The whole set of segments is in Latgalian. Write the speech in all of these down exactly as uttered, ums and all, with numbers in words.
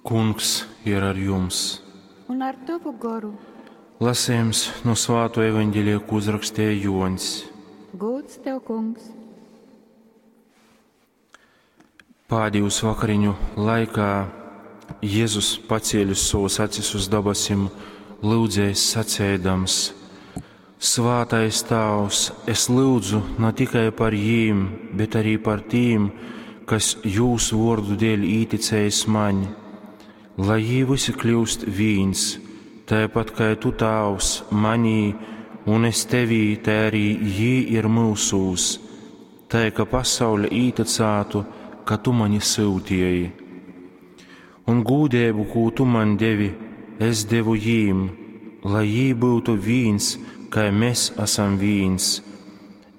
Kungs ir ar jums! Un ar tavu goru. Lasījums no Svāto evaņģēlija, ko uzrakstīja Joņs. Gods tev, kungs! Pādījus vakariņu laikā Jēzus pacēlis savus acis uz dabasim, lūdzējis sacēdams: Svātais Tāvs, es lūdzu ne tikai par jīm, bet arī par tīm, kas jūsu vārdu dēļ īticējis maņ, lai jī visi kļūst vīns, tāpat kā tu, Tāvs, manī un es tevī, tā arī jī ir mūsūs, tā ka pasaule īticātu, ka tu mani sūtīji. Un gūdību, ko tu man devi, es devu jīm, lai jī būtu vīns, kā mēs esam vīns.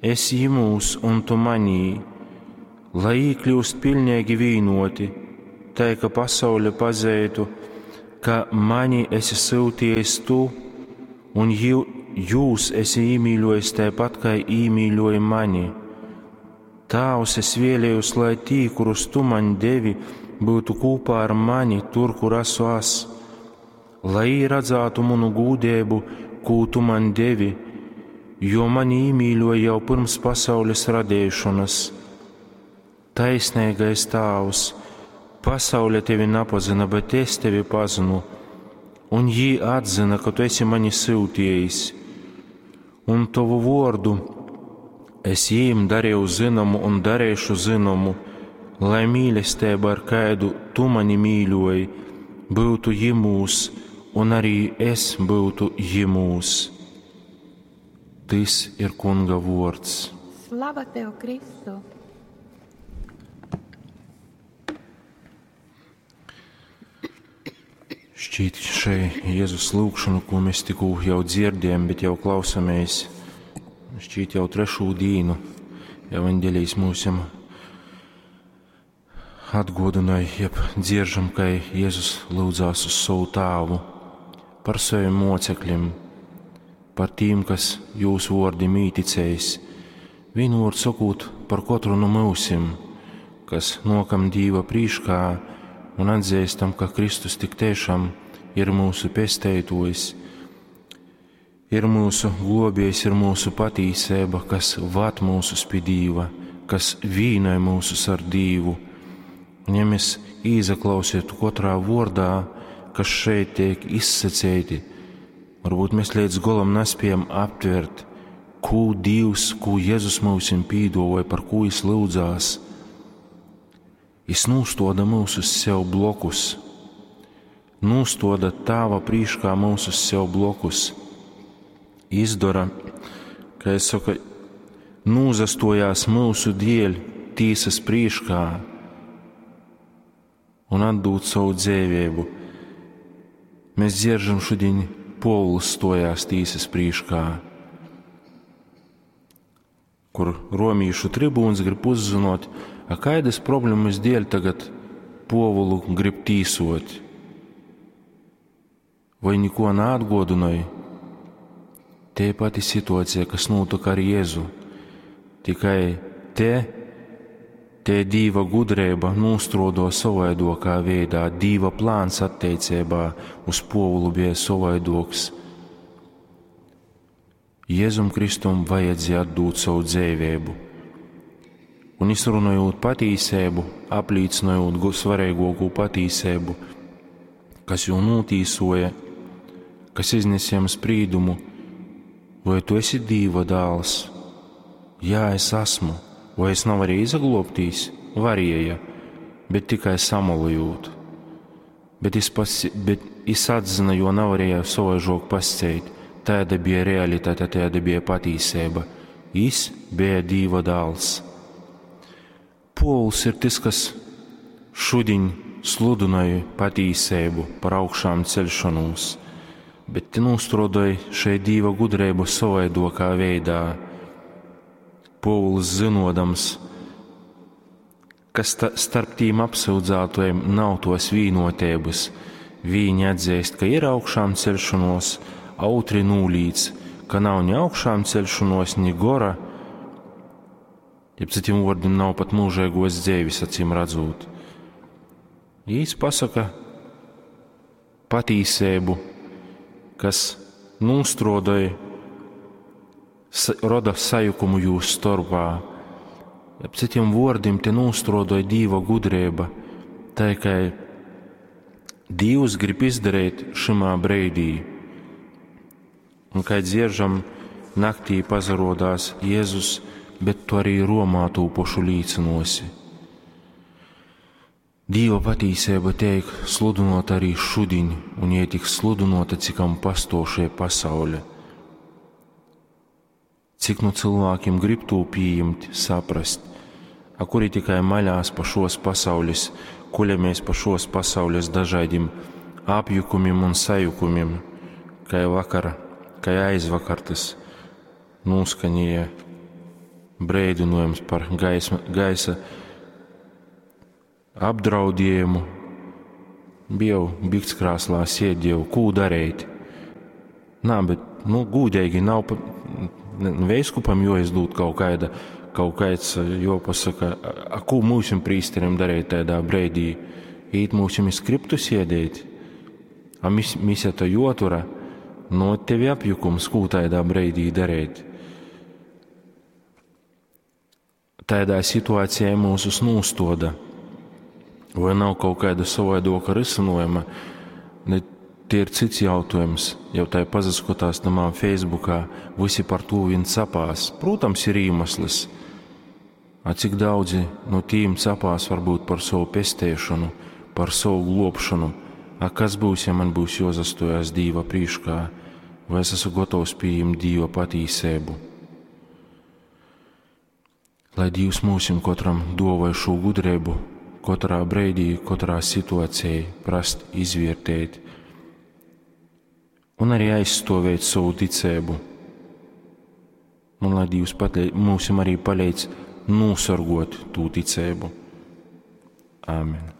Es jimūs un tu manī, lai jī kļūst pilnīgi vīnoti, tā ka pasaule pazeitu, ka mani esi sūtījis tu, un jū, jūs esi īmīļojis tāpat, kā īmīļoji mani. Tāvs, es vēlējos, lai tī, kurus tu man devi, būtu kopā ar mani tur, kur esmu es, lai jī redzētu manu gūdību, ko tu man devi, jo mani īmīļoja jau pirms pasaules radīšanas. Taisnīgais Tāvs, pasaule tevi nepazina, bet es tevi pazinu, un jī atzina, ka tu esi mani sūtījis, un tavu vārdu es jīm darīju zināmu un darīšu zināmu, lai mīlestība, ar kādu tu mani mīļoji, būtu jimūs, un arī es būtu jimūs. Tis ir Kunga vārds. Slava tev, Kristu! Šķiet, šai Jēzus lūgšanu, ko mēs tikko jau dzirdējam, bet jau klausamies, šķiet jau trešo dīnu evaņģēlijs mūsim atgodināja, jeb dzieržam, ka Jēzus lūdzās uz savu tāvu par saviem mocekļiem, par tīm, kas jūsu vārdim īticējis, vienu vārdu sakot par katru no mūsim, kas nokam Dīva prīškā un atzīstam, ka Kristus tik tiešām ir mūsu pesteitojs, ir mūsu globējs, ir mūsu patīsība, kas vad mūsus pie Dīva, kas vīnoja mūsus ar Dīvu. Un ja mēs īzaklausītu katrā vārdā, kas šeit tiek izsacēti, varbūt mēs līdz galam nespējam aptvert, ko Dievs, ko Jēzus mūsim pīdavoja, par ko viņš lūdzās. Jis nūstoda mūsus sev blokus, nūstoda Tāva prīškā mūsus sev blokus, izdara, kā es saku, nūzastojās mūsu dēļ tīsas prīškā un atdūt savu dzīvību. Mēs dzieržam šodien Povuls stojās tīsas prīškā, kur romīšu tribūns grib uzzinot, a kādas problēmas dēļ tagad Povulu grib tīsot. Vai neko neatgodināja? Te pati situācija, kas notika ar Jēzu. Tikai te, te Dīva gudrība nostrodo savaidokā veidā, Dīva plāns attiecībā uz Povulu bija savaidoks. Jēzum Kristum vajadzēja atdūt savu dzīvību. Un izrunājot patīsību, apliecinot svarīgāko patīsību, kas jau notīsoja, kas iznesiem sprīdumu, vai tu esi Dīva dēls? Jā, es esmu. Vai es nav arī izaglobtīs? Varēja, bet tikai samalojot. Bet es, pas, bet es atzina, jo nevarēja savaižok pasceit. Tāda bija realitāte, tāda bija patīsība. Is bija Dīva dēls. Pols ir tas, kas šodien sludināja patīsību par augšām celšanos, bet te nostrodoja šeit Dīva gudrību savaidokā veidā. Povuls zinodams, ka sta starp tīm apsūdzētojiem nav tos vīnotības, viņi atzīst, ka ir augšām celšanos, autri nūlīdz, ka nav ni augšām celšanos, ni gora, jeb citiem vārdiem nav pat mūžīgos dzīves, acīm redzot. Jīs pasaka, Patīseibu, kas nūstruodoj, roda sajukumu jūs storpā. Ap citiem vuordim te nūstruodoj Dīva gudrība, tai kai Dīvs grib izdarīt šimā breidī. Un kai dzieržam, naktī pazarodās Jēzus, bet tu arī Romā tū pošu līcinosi. Dīva patīsība teik sludinota arī šudiņ, un jai tiks sludinota, cikam pastošie pasaule. Cik nu cilvēkiem grib tū pieņemt, saprast, a kuri tikai maļās pa šos pasaules, kuļamies pa šos pasaules dažādiem apjukumiem un sajukumiem, kai vakar, kai aizvakar tas nūskanīja breidinojums par gaisma, gaisa apdraudējumu. Bija jau biktskrāslā sēdēju, kū darīt. Nā, bet, nu, gūdīgi nav pa, veiskupam joizdūt kaut kāda, kaut kāds jopasaka, a, a kū mūsim prīsterim darīt tādā breidī? Īt mūsim iz skriptu sēdēt, a mis, mise to jotura, no tevi apjukums, kū tādā breidī darīt. Tādā situācijā mūsus nūstoda. Vai nav kaut kāda savaidoka risinojuma, ne, tie ir cits jautājums. Jau tai pazaskotās tamā Facebookā, visi par to vien capās. Protams, ir iemesls. A cik daudzi no tīm capās varbūt par savu pestēšanu, par savu globšanu. A kas būs, ja man būs jozastojas Dīva prīškā, vai es esmu gatavs pieņemt Dīva patīsību? Lai Dievs mūsim katram dovai šo gudrību, katrā breidī, katrā situācijā prast izvērtēt un arī aizstāvēt savu ticību. Un lai Dievs patlē, mūsim arī palīdz nosargot tū ticību. Āmen.